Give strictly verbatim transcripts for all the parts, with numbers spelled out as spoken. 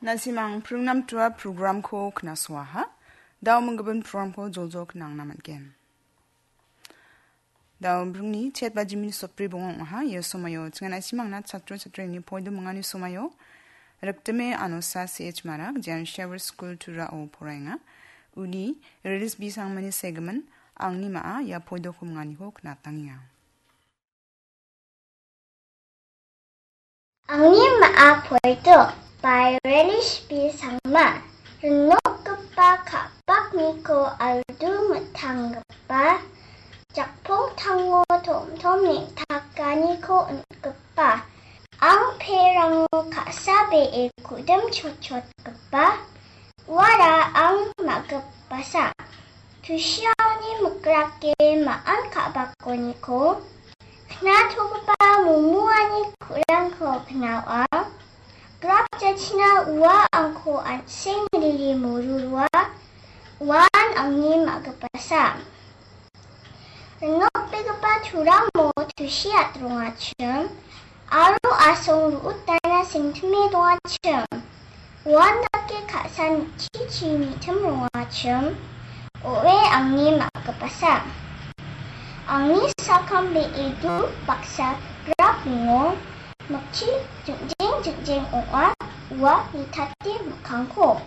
Nasimang pringnam tua programko knasoaha. Dao menggimin programko jojo knangna man·gen. Dao bringni chet bajimini sotbri bonga ong·aha. Ia somaio chingan nasimangna chatro chatrini poido mingani somaio. Riptime Anosa C H Marak, Jan Shower School Turao poraenga. Uni Rilis B Sangmani segimin, angni ma·a ia poidoko minganiko knatangenga. Angni ma·a poido by Relish B Sangma. Rinokgipa ka·pakniko aldu mitanggipa, jakpongtango tomtom neng·takaniko on·gipa, ang perango ka·sa be·e ku·dim chotchotgipa, uara ang ma·gipasa. Tusiaoni mikrake ma·an ka·bakoniko knatogipa momoani ku·rangko knaoa. Grap jachina ua angko an·seng riri morurua, uan angni ma·gipasa. Rinokbegipa turamo tusi at·rongachim, aro asong ru·utana sengtime dongachim. Uandake ka·san chichi nitim rongachim, o·e angni ma·gipasa. Angni sakam be·edu baksa grap ringo, mikchi jingjeng jingjeng ong·a, ua nitate mikkangko.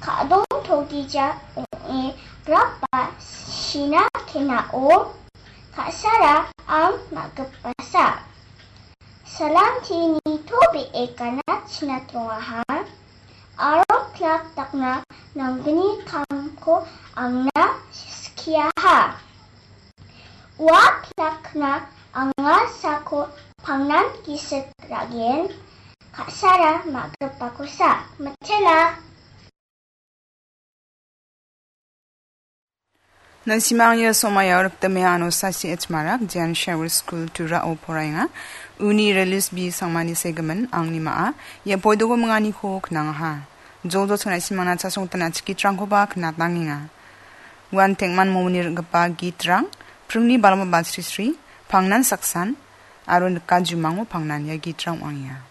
Ka·dong togija ong·e grapa sina kenao, ka·sara ang ma·gipasa. Salanti nitobee ganatchina trongaha, aro plak dakna nanggni kamko angna skiaha. Ua plakna anga sako pangnan gisik ra·gen, ka·sara ma·gipakosa mitela. Nasimang ia somaio riptime Anosa C H Marak, Jan Shower School Turao poraenga. Uni Rilis B Sangmani segimin, angni ma·a ia poidoko minganiko knangaha. Jojo chingna simangna chasongtana chikitrangkoba knatangenga. Uan tengman momoni ring·gipa gitrang, pringni balma basri sri, pangnan saksan, aro nika jumango pangnan ia gitrang ong·angenga.